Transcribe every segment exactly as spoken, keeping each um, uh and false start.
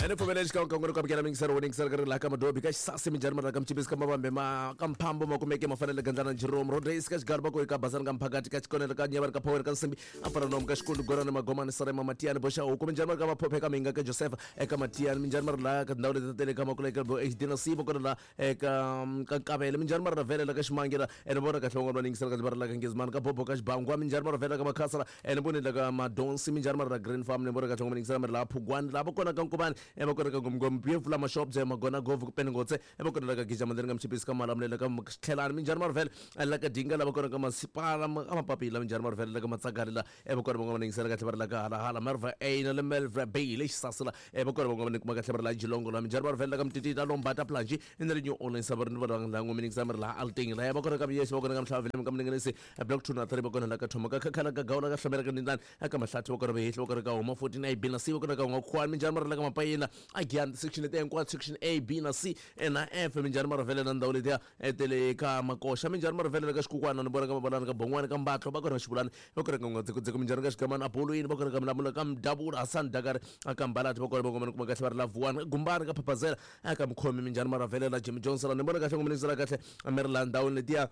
Ene pfumela xikan'we ku amukela mingiselo wo ningisela ka ri laha ka madobi ka xisasi minjhani mara ka mchipisi ka mavambe ma ka mphambo ma kumeke ma fanele gandlana Jerome Rodriguez ka xigari va ku ka basana ka mphakati ka xikonelo ka nyavani ka power ka nsimbi a fana nomu ka xikundu gorana magomani sarema matiyani boxa huku minjhani mara ka maphophe ka minga ka Joseph eka matiyani minjhani mara laha ka tindhawu leti tele ka makuleke bo H D na C va kona la eka ka nkavele minjhani mara vhele la ka ximangela ene vona kahle van'wana va ningisela ka va ri la ka Ngezimani ka bobo ka xibangwa minjhani mara vhele ka makhasala ene voni la ka madonsi minjhani mara la Green Farm ne vona kahle van'wana ningisela mara la Phugwani la va kona ka Nkubani e va kona ka Ngomngom Beautiful ma shop je magona govu ku peningotse e va kona la ka Gija mandeni ka mchipisi ka malamulele ka tlhelani minjhani mara vhele la ka Dinga la va kona ka masipala ka mapapila minjhani mara vhele la ka Matsakari la e va kona van'wana ningisela kahle va ri la ka Halahala Merva A na le Melva B le Xisasila e va kona van'wana kuma kahle va ri la Jilongo la minjhani mara vhele la ka Mtitita Lombata Planji ene le New Orleans va ri va la ngome ningisela mara la Alting la va kona ka Miyesi va kona ka Mhlavele ka Mningenisi block two na three va kona la ka Thoma ka Khakhala ka Gawula ka Hlomela ka Ndindani eka Mahlathi va kona Vehehli va kona ka Homa fourteen A B na C va kona ka N'wakhwani minjhani mara la ka Mapayina again section leti hinkwato section A B na C na F minjhani mara vhele na ndhawu letiya tele ka Makoxa minjhani mara vhele ka Xikukwana ni vona ka Mabalani ka Bongwani ka Mbatlo va kona Xivulani va kona ka N'wadzekudzeko minjhani ka Xigamani Abolweni va kona ka Mlamula ka Mdavula Hassan Dakari aka Mbalati va kona va kuma kahle va ri la Vuwani Gumbani ka Phaphazela aka Mkhomi minjhani mara vhele la Jimmy Johnson ni vona kahle ngome kahle mi ri la ndhawini letiya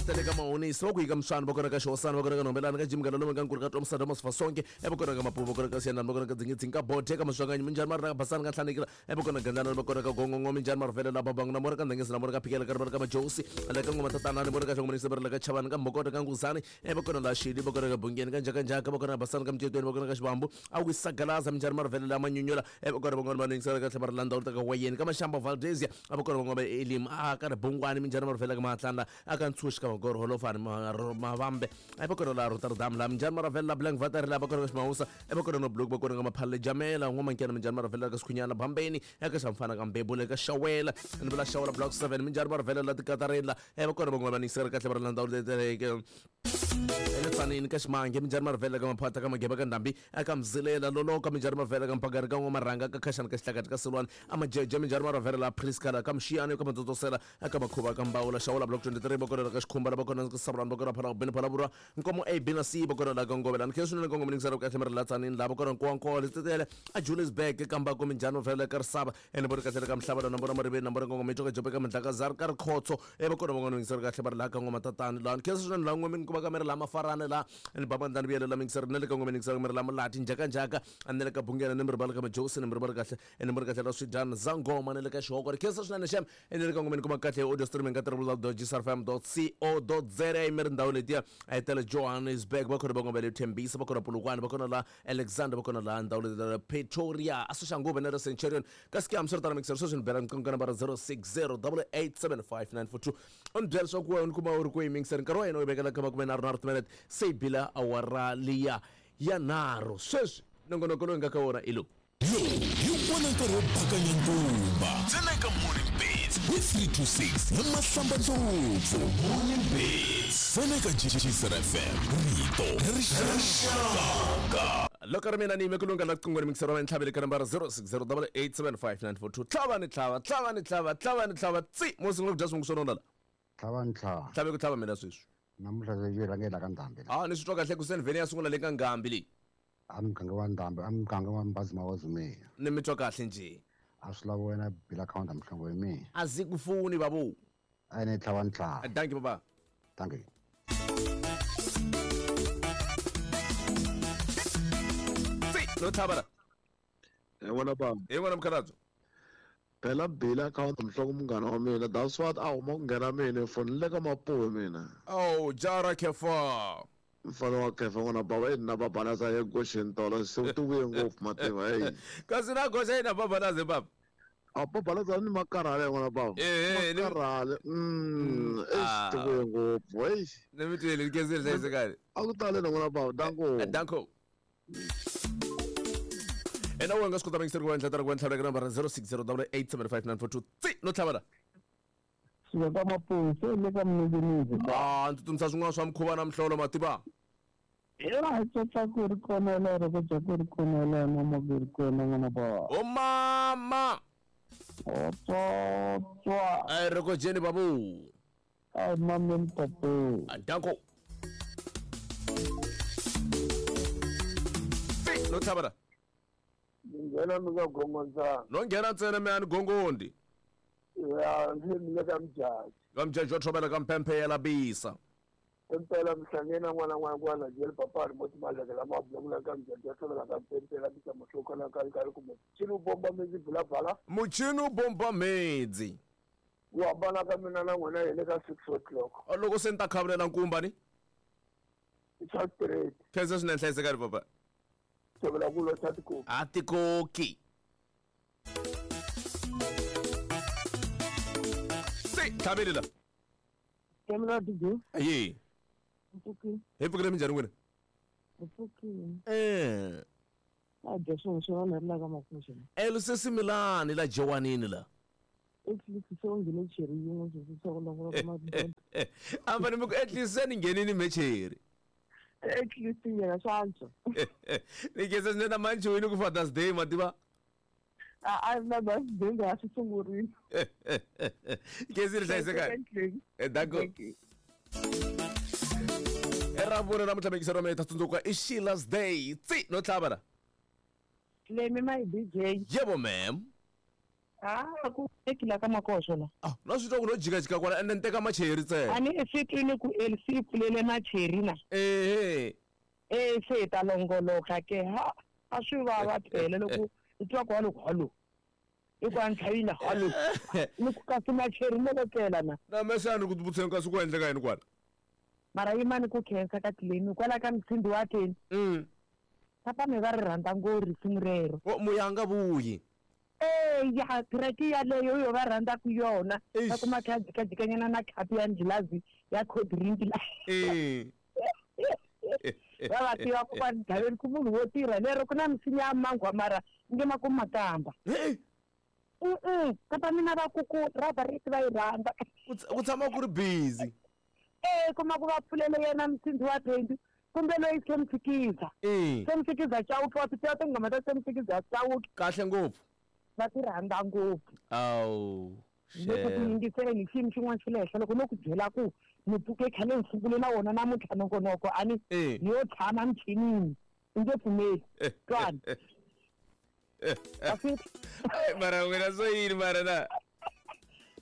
tele ka Mahonisi va ku yika Mswani va kona ka Xihosana va kona ka Nhombelani ka Jim Galolome ka Nkuri ka Tomsa Thomas Fasonke e va kona ka Mapuva va kona ka Siyanani va kona ka Dzingidzingi ka Bothe ka Maswanganyi minjhani mara ka Basani ka Nhlanikela e va kona Gandlana va kona ka Gongongo minjhani mara vhele la Babangu na mora ka Ndhengezi na mora ka Phikela ka Rivara ka Majosi la ka Ngoma Tatana ni vona ka Hlongomani va ri la ka Chavani ka Mbokota ka Nguzani e va kona la Xili va kona ka Bungeni ka Njakanjaka va kona ka Basani ka Mtetweni va kona ka Xibambu a ku Sagalaza minjhani mara vhele la Manyunyula e va kona van'wana va ningisela kahle va ri la ndhawu ta ka Wayeni ka Mashamba Valdezia a va kona van'wana va Elim a ka Ribungwani minjhani mara vhele ka Mahatlanda a ka Ntshuxi ka Magoro Holofani Mavambe e va kona la Rotterdam la minjhani mara vhele la Blank Vater la va kona ka Ximawusa e va kona no Blok va kona ka Maphalle Jamela N'wamankyana minjhani mara vhele ka Sikhunyana Bambeni eka Xamfana ka Mbebule ka Xawela ni vula Xawela Block seven minjhani mara vhele la Tikatareni la e va kona van'wana va ningisela kahle va ri la ndhawu leti Tsanini ka Ximange minjhani mara vhele ka Maphata ka Mageba ka Ndhambi eka Mzilela Loloka minjhani mara vhele ka Mpakari ka N'wamarhanga ka Khaxani ka Xihlakati ka Silwani a Majeje minjhani mara vhele la Priskala ka Mxiyani ka Matsotsosela eka Makhuva ka Mbawula Xawula Block twenty-three va kona ka Xikhumba la va kona ka Sabrani va kona Phala Beni Phala Vurwa Nkomo A B na C va kona la ka Ngovelani khe swinene ka Ngome ningisela kahle mara la Tsanini la va kona Nkowankowa Letsetele a Juliusburg ka Mbako minjhani mara vhele ka Risava ene vona kahle ka Mhlava na vona Mariveni na vona ka Ngome Joka Jope ka Mandlakazari ka Rikhotso e va kona van'wana ningisela kahle va ri la ka Ngoma Tatani la khe swinene la Ngome ku va ka miri la Mafarana la ni babandani vuyelo la mingisela na le ka Ngome ningisela miri la Mulati Njakanjaka a ni le ka Bungela ni mi ribala ka Majosi ni mi ribala kahle ni mi ri kahle la Swidyana Zangoma ni le ka Xihoko ri khensa swinene xem ni le ka Ngome ni kuma kahle audio streaming ka w w w dot g s r f m dot co dot z a mi ri ndhawu letiya a yi tele Johannesburg va kona van'wana va le Tembisa va kona Polokwane va kona la Alexander va kona la ndhawu letiya Pretoria a Soshanguve na le Centurion kasi ke hambiswiritano mingisela sweswi ni bela nqingho ka nambara zero six zero double eight seven five nine four two u ni byela leswaku wena ni kuma u ri kwihi mingisela nkarhi wa hina u yi vekela ka makume nharhu nharhu timinete se yi bila awara liya ya nharhu sweswi nongonoko lowu hi nga ka wona i lowu lowu hi wona nkarhi wo bakanya nkumba ntsena eka Morning Beats hi three two six na Mahlamba Ndlopfu. Morning Beats ntsena eka G S R F M rito ra rixaka. Loko ri mina ni yime ku lungha la qingweni mingiselo wa ntlhavele ka nambara zero six zero double eight seven five nine four two tlhava ni tlhava tlhava ni tlhava tlhava ni tlhava tsi mo sungula ku dya swingu swo nona la tlhava ni tlhava tlhave ku tlhava mina sweswi namuntlha yi rhangela ka Ndhambi ah ni swi twa kahle ku se ni vhele ya sungula le ka Ngambi leyi a muganga wa Ndhambi a muganga wa Mbazima wa Zumeya ni mi twa kahle njhe a swi lava wena bila counter mihlovo ya mina a zi ku funi babu a ni tlhava ni tlhava thank you baba thank you tsi no tlhava la hi n'wana baba hi n'wana mukhalabye phela bila counter mhloko munghana wa mina that's what a huma ku nghena mina foni le ka Mapuwe mina oh jara kefa mfana wa kefa n'wana baba i na babalaza ya goxeni tolo se u ti vuye ngopfu mativa hey kasi na goxa yina babalaza baba a babalaza ni makarhale n'wana baba eh makarhale mm eh ti vuye ngopfu hey ni mi twile kezile hlayisekani a ku tale na n'wana baba danko danko ena u nga swi kota mingiseri ku endla tara ku endla ka nambara zero six zero double eight seven five nine four two tsi no tlhava la suka ka Mapuwe se le ka Mninginisi ah ndzi tsundzuxa swin'wana swa mukhuva na mihlolo mativa yena hi tsotsa ku ri kona lero ku dya ku ri kona lero mo ku ri kona n'wana ba o mama o tsotswa ai re ko jeni babu ai mame mpopo danko tsi no tlhava la Ni nghena mi ka gongondzana. No nghena ntsena mi ani gongondi. Ya, ndzi mi le ka mjaji. Ka mjaji wa thobela ka mpemphe ya labisa. Impela mhlangena n'wana n'wana kwala jele papa ri moti malekela ma bulakula ka mjaji wa thobela ka mpemphe ya labisa mohloko na ka ka kumbe. Chini bomba mezi bula bala. Muchini bomba mezi. Ku hambana ka mina na n'wina hi le ka six o'clock. Loko se ni ta khavulela nkumba ni? It's straight. Khensa swinene hlayisekani papa. Thobela ku lo tikoki. A tikoki. Se tlhabelela. Kemela D J. Aye. Mpfukile. Hi pfukile minjhani n'wina? Mpfukile. Eh. A dya swin'we swin'wana ri la ka makuxeni. Elusesi Milani la Jowanini la. At least se u nghene cheri yin'we sweswi swa ku longoloka mabindzu. A va ni mi ku at least se ni nghenini mecheri. At least nyana swa antswa. Ni khensa swinene na manjhoni ku Father's Day ma tiva. A a na birthday nga swi sungurile. Khensile hlayisekani. Eh danko. Era namuntlha mekisero me ta tsundzuka i Sheila's Day. Tsi no tlhava la. Lemi my D J. Yebo ma'am. Ah, ku ekila ka makoxo la. Ah, no swi twa ku no jikajika kwala ende ni teka macheri ntsena. A ni swi twini ku L C pfulele macheri na. Ehe. Eh se ta longoloka ke ha a swi vava phela loko u twa ku halo halo. I ku a ntlhavile halo. Ni ku kasi macheri mo lokela na. Na mesani ku tivutiseni kasi ku endleka yini kwala. Mara yimani ku khensa ka tlileni kwala ka mtshindi wa teni. Mm. Papa me va ri rhandza ngopfu risimu rero. O muyanga vuyi. Eh ya treki yaleyo yo va rhandza ku yona. Va kuma kha jikajikanyana na khapi ya nghilazi ya cold drink la. Eh. Va va tiva ku va ndhaveni ku munhu wo tirha lero ku na misinya ya mangwa mara nge ma ku makamba. Eh. Mm kapa mina va ku ku raba ri va yi rhandza. Ku tshama ku ri busy. Eh kuma ku va pfulele yena msindzi wa twenty kumbe loyi Semtsikiza. Eh. Semtsikiza Chauke wa tiva tinghoma ta Semtsikiza Chauke. Kahle ngopfu. Va ti rhandza ngopfu. Awu. Loko ku yingisela xiyimo xin'wana xa le henhla loko no ku byela ku ni pfuke khale ni sungule na wona namuntlha nongonoko a ni ni yo tshama michinini i nge pfumeli twani. Mara wena swo yini mara na.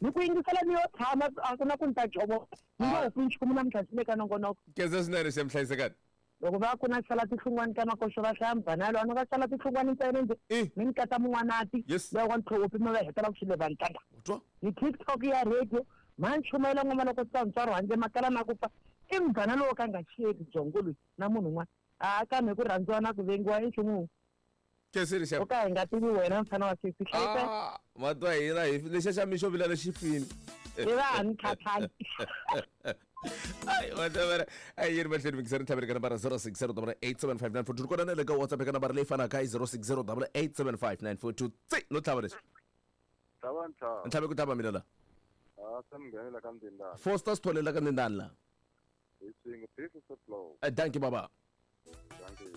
Ni ku yingisela ni yo tshama a ku na ku ni ta jovo ni nge hupi nchumu namuntlha swi le ka nongonoko. Khensa swinene xi mhlayisekani. Loko va ku na sala tihlungwani ta makoxo va hlaya mbanalo a no va sala tihlungwani ntsena nje mi ni kata mun'wanati loyi wa ntlhopi mi va hetela ku xile vantanga. Ni TikTok ya radio ma nchumayela ngoma loko tsa ntswaro handle makala na ku pfa i mghana lowo ka nga cheli byongo loyi na munhu un'wana a kambe ku rhandziwa na ku vengiwa i nchumu. Khensile xa. O ka hi nga tivi wena mfana wa sesi hlayisa. Matwa hina hi lexa xa mixo vila lexi fini. I va ni khathali. Ai whatever. Ai yiri mahlweni mikiseri tlhaveri ka nambara zero six zero eight seven five nine four two kona na le ka WhatsApp ka nambara leyi fanaka i zero six zero eight seven five nine four two. Tsi no tlhava lexi. Tlhava ntlhava. Ntlhave ku tlhava mina la. Ah se mi nghenela ka Ndindani. Foster Sithole la ka Ndindani la. Hi swin'we this is the flow. Eh thank you baba. Thank you.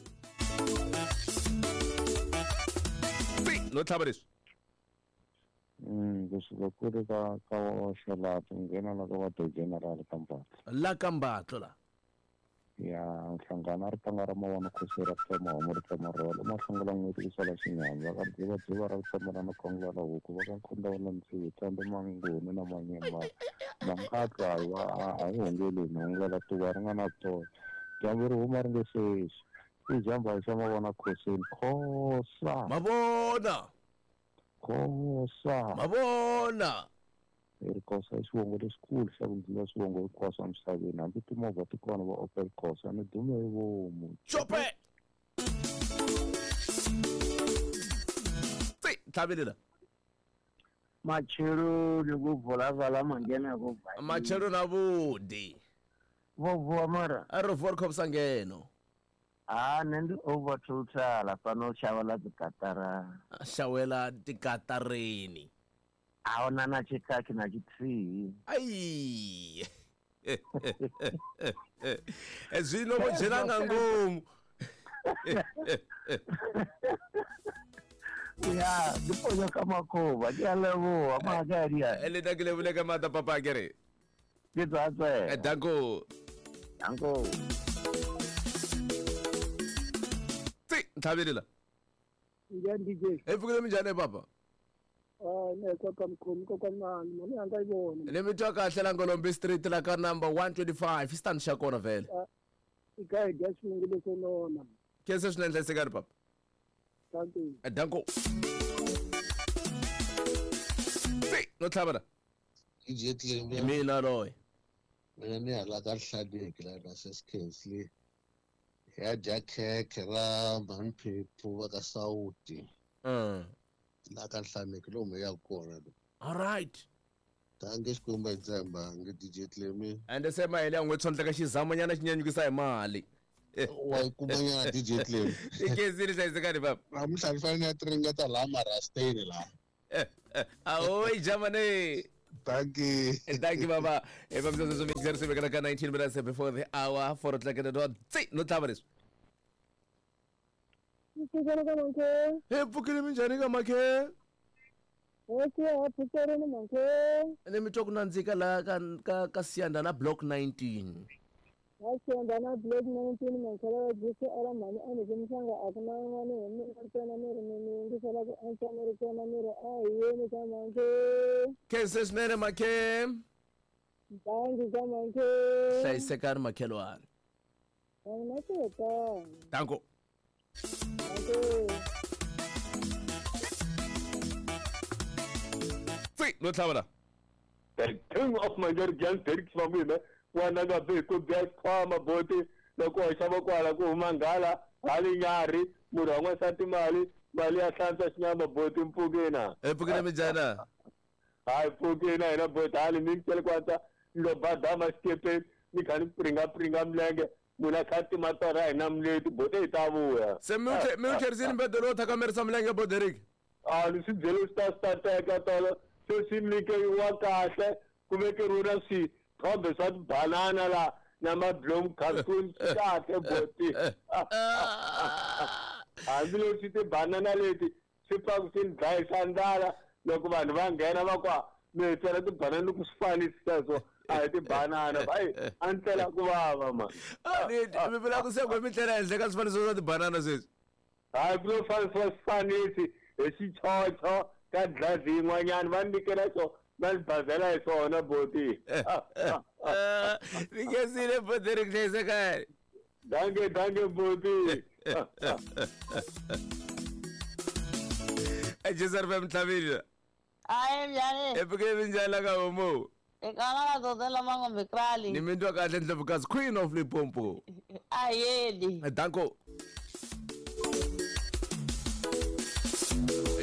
Tsi no tlhava lexi. Mm kusuka kule ka ka wa Xalato nghena la ka va the general ka Mbatlo. La ka Mbatlo la. Ya nhlangano a ri tanga ra mavona khosi ra tsema homu ri tsema rholo mahlongola n'weti ku sala xinyama va ka dziva dziva ra tsema na khongela la huku va ka khonda wa ntsivi tsambe mangoni na manyema mangatwa wa a hi hongeli ni hongela tuva ri nga na toya dyambu ri huma ri nge sexi i jamba xa mavona khosini khosa mavona Khosa mavona i Khosa i xivongo lexikulu xa ku ndlula swivongo hinkwaswo emisaveni hambi timovha ti kona va Opel Khosa ni dume hi vomu chope. Tsi tlhavelela. Matsheloni ku vulavala manghena ku va. Matsheloni avhuḓi. Vho vuwa mara. A ri vuwa ri khou vhusa ngeno. Ah nṋe ndi over total fhano shavha ḽa dzikatara. Xawela tikatareni. A huna na tshikhathi na tshithihi. Ai. Zwino vho dzhena nga ngomu. Ya, ndi ponya ka makhuvha, ndi a leboha mahadia. Le nna ke lebole ka maatla papa kere. Ke tswa tswela. Danko. Danko. Tsi, tlhabelela. Njhani D J? Hi pfukile minjhani papa? Ah, ne koka mkhomi koka mani, mani a nga yi vona. Ni mi twa kahle la Ngolombi Street la ka number one twenty-five, i stand xa kona vhele. I ka hi dya xivungu lexo nona. Khensa swinene hlayisekani papa. Thank you. Danko. No tlhava la. D J Clem. Mina loyi. Mina ni hala ka Hlaleki la ka Seskensley. Ya dya khekhe ra Mhanphephu va ka Sawuti. Mm. La ka Hlaleki lomu ya kona. All right. Tange xikwembu hi tshemba nge D J Clem. Ende se mahele ya n'we tshondleka xizamanyana xi nyanyukisa hi mali. Wa yi kumanyana D J Clem. I khensile hlayisekani papa. Namuntlha ni fanele ni ya tiringeta laha Marasteni laha. Ahoy Germany. Thank you. Thank you, Baba. If I'm just going to nineteen minutes before the hour, four o'clock at the door. No tlhava leswi. Hey, pfukile minjhani ka makhe? Ni mi twa ku nandzika laha ka ka ka Siyanda na block nineteen. Siyanda na block nineteen mankhela wa Jesu ala mhani a ni mhlanga a ku na yin'wana hi mina ntsena ni ri ni mi yingisela ku antswa ni ri kona ni ri a hi yeni ka mankhe. Khensa swinene makhe. Dangi ka mankhe. Hlayisekani makhelwani. Danko. Tsi, no tlhava la. The king of my girl Derek wa mina n'wana nga be ku bya xikhwama boti loko wa xava kwala ku huma nghala hali nyarhi munhu wa n'wansati mali mali ya hlantswa xinyama boti mpfukina. Hi pfukile minjhani? Hayi pfukina hina boti hali mi tlhela kwatsa lo badama xikepeni ni kha ni pringa pringa milenge munhu a kha tima torha hina mileti boti hi ta vuya. Se mi mi wu tlherisile mbedo lowo thakamerisa milenge Boderik? A ni swi byele swi ta swi ta teka tolo se swi nyikeriwa kahle ku vekeriwe na swithombe swa tibanana la na mablom cartoon swi kahle boti. Hambileswi tibanana leti swi pfaku swi ni dlayisa ndlala loko vanhu va nghena va kwa mi hi tswela tibanana ku swi fanisi sweswo a hi tibanana hayi a ni tlela ku vava ma. Mi vula ku se ku mi tlela henhla ka swifaniso swa tibanana sweswi? Hayi ku lo fanisiwa swifanisi hi xichocho ka dlazi yin'wanyana va nyikela xo va ni bazela hi swona boti. Ni khensile Boderik hlayisekani. Danke danke boti. Jesar F M tlhavile. Ayi njhani? Hi pfukile minjhani la ka homu? Ekana la Mangombe Krali. Ni mi twa kahle Ndlovukazi Queen of Limpopo. Ayeli. Danko.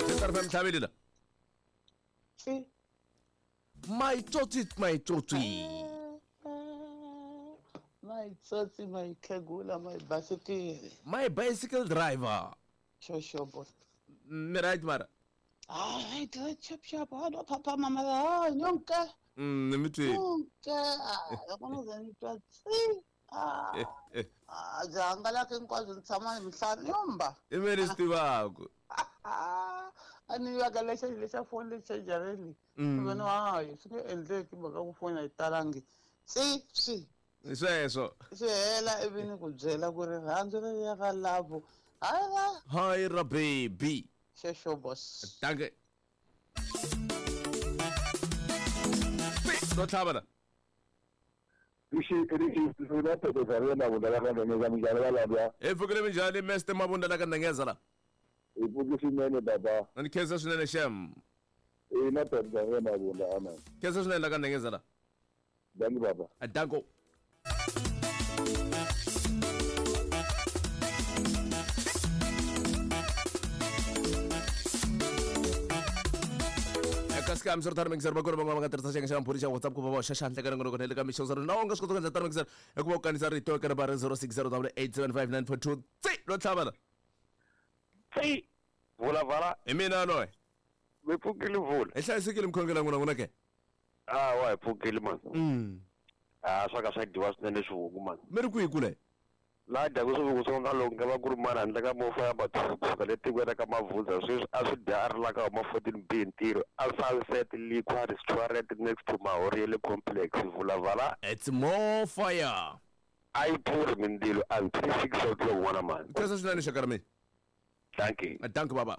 Jesar F M tlhavile la. Si. My tsotsi, my tsotsi. My tsotsi, my kegula, my bicycle. My bicycle driver. Sure, sure, boss. Mi right mara? Ah, right, right, chap, chap. Ah, no, papa, mama, ah, nyonka. Mm, ni mi twi. Nyonka. Ah, loko no ze ni twa tsi. Ah, ah, byi hangalaka hinkwabyo ni tshama ni mihlanu yomba. I me ni swi tivaku. A ni vaka lexa lexa foni lexa jareni. Vona hayi swi nge endleki mhaka ku foni a yi talangi. Tsi swi. Sweswo. Swi hela ivi ni ku byela ku rirhandzu leriya ra love. Hayi ra. Hayi ra baby. Xexo boss. Danke. No tlhava la. Hi pfukile minjhani Mister Mabunda la ka Ndengeza la? Hi pfuki swinene baba. Ni khensa swinene xem. Ina Pedro Mabunda amen. Khensa swinene la ka Ndengeza la. Danki baba. Danko. Kasi mi swi ri tano mixer va kona van'wana va nga tirhisa xiyenge xa mphuri xa WhatsApp ku va va hoxa xandla ka nongonoko na le ka mixo zero na u nga swi kota ku endla tano mixer hi ku va u kanisa rito eka nambara zero six zero double eight seven five nine four two tsi ro tlhava la. Tsi vula vala. Hi mina loyi. Mi pfukile vula. Hi hlayisekile mkhongela n'wina n'wina ke? Ah wa hi pfukile man. Mm. Ah swa ka swa dyiwa swinene swivungu man. Mi ri kwihi kule? Laha dyaku swivungu swo nga loko nga va ku ri mara handle ka movha ya bathu kusuka le tikweni ka Mavhundza sweswi a swi dya a ri la ka huma fourteen B ntirho a Sunset Liquor Restaurant next to Mahoriele Complex vula vala. It's more fire. A yi pfuri mindzilo until six o'clock n'wana mani. Khensa swinene xaka ra mina. Dankie. Dankie baba.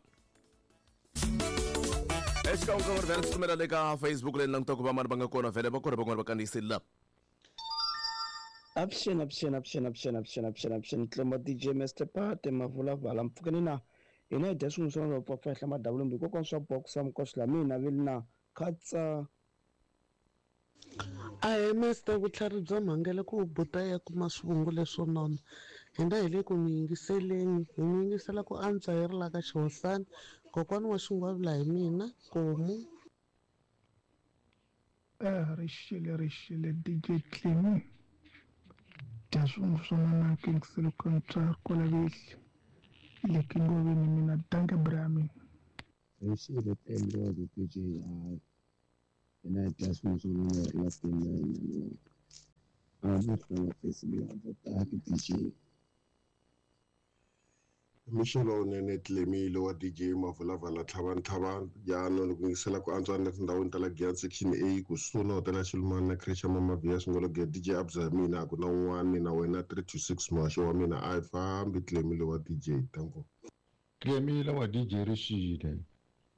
Xikan'we vhele tsutsumela le ka Facebook leyi langutaka ku va mani va nga kona vhele va kona van'wana va kandziyisile la. Avuxeni avuxeni avuxeni avuxeni avuxeni avuxeni avuxeni Tlemo D J Mister Pate Mavulavala mpfukeni na hina hi dya swin'we swa va pfa henhla madavulumbi hikokwani swa boxa mikoxi la mina vi na khatsa. Ahee Mister vutlhari bya mhangele ku buta ya kuma swivungu leswo nona hina hi le ku mi yingiseleni hi mi yingisela ku antswa hi ri la ka Xihosana kokwani wa xingwavula hi mina Komu. Eh rixile rixile D J Tlemi dya swivungu swo nona King Silicon kwala vehli le Kingoveni mina danke Brahmin. Rixile Tlemi wa D J hayi hina hi dya swivungu swo nona hi ri la tini a mi hlanga Facebook ya D J. Mixo lowunene Tlemile wa D J Mavulavala Tlhavani Tlhavani jaanong ku yingisela ku antswa na tindhawini ta la Giyani section A kusuhi na hotela Xilumani na creche ya Mama Via Swingologe D J Abza mina a ku na un'wana na wena three two six muhaxo wa mina a yi fambi Tlemile wa D J tanko. Tlemile wa D J Rixile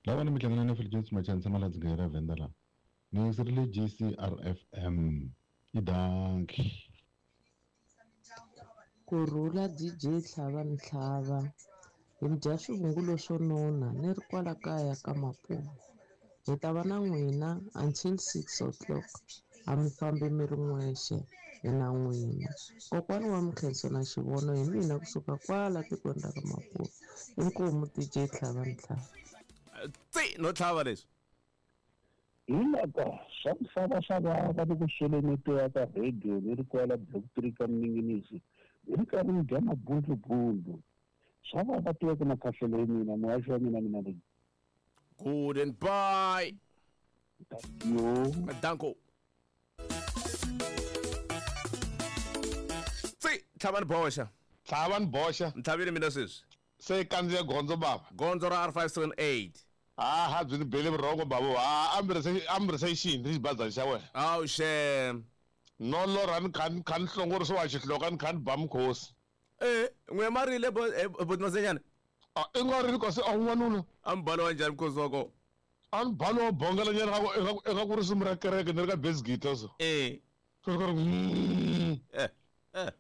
lava ni mi hlangana na Philip Machanisa Maladzi ra Venda la ni yingiserile G C R F M i danki. Kurhula D J Tlhavani Tlhava hi mi dya swivungu leswo nona ni ri kwala kaya ka Mapuva hi ta va na n'wina until six o'clock a mi fambi mi ri n'wexe hi na n'wina kokwani wa Mkhenso na Xivono hi mina kusuka kwala tikweni ra ka Mapuva inkomu D J Tlhavani Tlhava. Tsi no tlhava leswi hi loko swa misava swa vava ni ku sweleni ya ka radio ni ri kwala block three ka Mninginisi hi ri karhi ni dya mabundlubundlu swa vava tiva ku na khahlelo ya mina muhaxi wa mina mina leyi. Good and bye. Yo. Danko. Tsi Tlhavani boxa. Tlhavani boxa. Ntlhavile mina sweswi. Se kandziya gondzo baba. Gondzo ra R five seven eight. Ah ha byi ni bele vurhongo babo. Ah ambirisation ri xibazana xa wena. Awu xem. No lorha ni kha ni kha ni hlongorisiwa xihloka ni kha ni ba mukhosi. Eh n'we marile buti Masenyana. Ah i nga ri kasi a n'wanuna. A mi balo wa njhani mukhosi wa kona? A ni balo wa bongela nyana ka ku eka ku risimu ra kereke ni ri ka bass guitar so. Eh. Ku ri eh eh.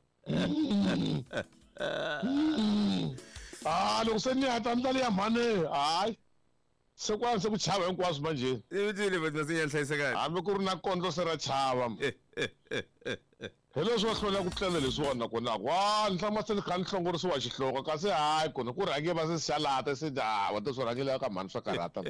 Ah loko se ni heta ndlela ya mhani hayi. Se kwala se ku chava hinkwaswo manje. I vutile buti Masenyana hlayisekani. Hambi ku ri na kondlo se ra chava. Hi leswi va hlwela ku tlela leswiwani nakona ku wa ni hlama se ni kha ni hlongorisiwa xihloko kasi hayi kona ku rhange va se xalata se hawa te swo rhangela ka mhani swa karhata.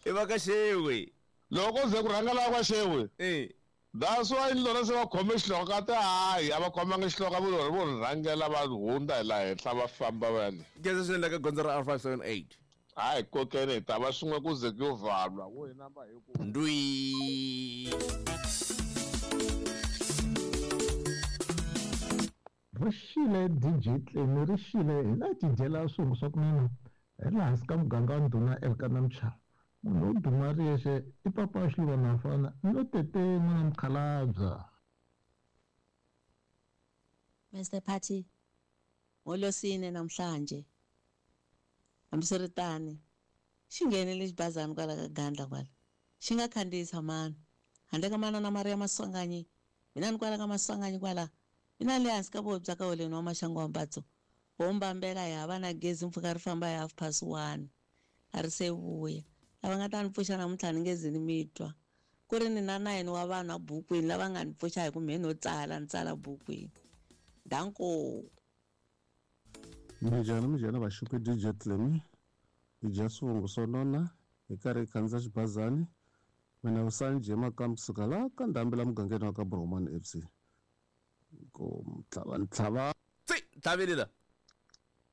I va ka xewe. Loko ze ku rhangela ka xewe. Eh. That's why ni lona se va khome xihloko ka te hayi a va khomanga xihloko vo lona vo rhangela va hundza hi laha henhla va famba va ya le. Geza swi endla ka gondzo ra R five seven eight. Hayi kokeni hi ta va swin'we ku ze ku yo valwa wo hi namba hi ku. Ndwi. Rixile D J Tlemi rixile hi la tidyela swivungu swa kunene hi laha hansi ka muganga wa ndhuna Elkana Mchava munhu wo duma ri yexe i papa wa Xiluvana mfana no tete n'wana mukhalabya. Mister Party ngolosine namhlanje hambiswiritano xi nghenele xibazana kwala ka Gandla kwala xi nga khandziyisa mani handle ka manana Maria Maswanganyi mina ni kwala ka Maswanganyi kwala mina le hansi ka vobya ka holeni wa Maxangu wa Mbatso ho mbambela hi hava na gezi mpfhuka ri famba hi half past one a ri se vuya lava nga ta ni pfuxa namuntlha ni nge zi ni mi twa ku ri ni na nine wa vanhu abukwini lava nga ni pfuxa hi ku mhe no tsala ni tsala bukwini danko. Minjhani minjhani vaxupi D J Tlemi hi dya swivungu swo nona hi karhi hi khandziya xibazani mina Vusani J Makamu kusuka la ka ndhambi la mugangeni wa ka Bromani F C ku Tlhavani Tlhava. Tsi tlhavile la.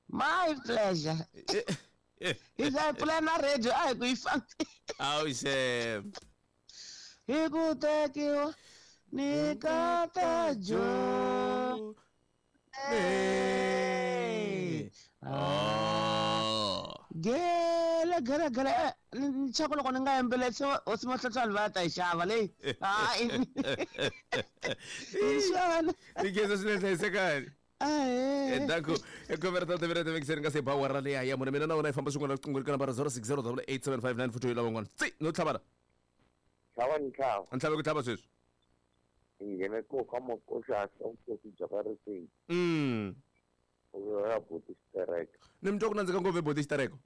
My pleasure. Hi za pfula na radio a hi ku yi fambi. Awu xem. Hi ku tekiwa ni kata jo. Hey. Oh. Gele gele gele ni chako loko ni nga yimbeletsi hosi Mahlohlwana va ta yi xava leyi. Hayi. Ni geza swinene hlayisekani. Ahee. Danko khume ra timinete mikiseni nga se ba awara leya ya mune mina na wena hi famba swin'wana riqingho ri ka nambara zero six zero double eight seven five nine four two lavan'wana tsi no tlhavana tlhava ni tlhava ni tlhave ku tlhava sweswi hi nghene ko ka makoxahla vukosi bya ka riseni mm ya boti xitereka ni mi twa ku nandzika ngopfu boti xitereko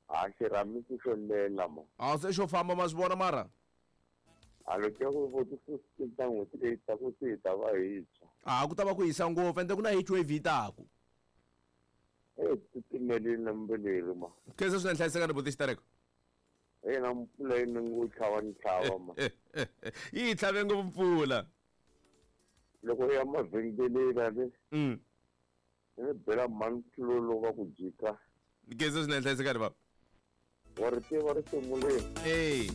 a xirhamisi xo lela ma a se xo famba ma swi vona mara a loko ku boti fifteen ta n'hweti leyi taku se hi ta va hi tshwa a ku ta va ku hisa ngopfu ende ku na heat wave yi taku e titimelini lembe leri ma khensa swinene hlayisekani boti xitereko yena mpfula yi ni ngo tlhava ni tlhava ma yi hi tlhave ngopfu mpfula loko u ya mavhengeleni ale mm ni bela mhani tlulolo va ku jika khensa swinene hlayisekani baba wa ri tiva risimu leri ey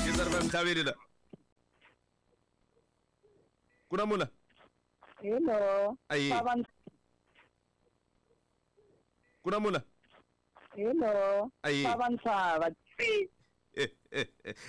khensa ri va mtlhaveli la ku na mula Hello. Ayi. Ku na mula Hello. Ayi. Ntshava. Tsi.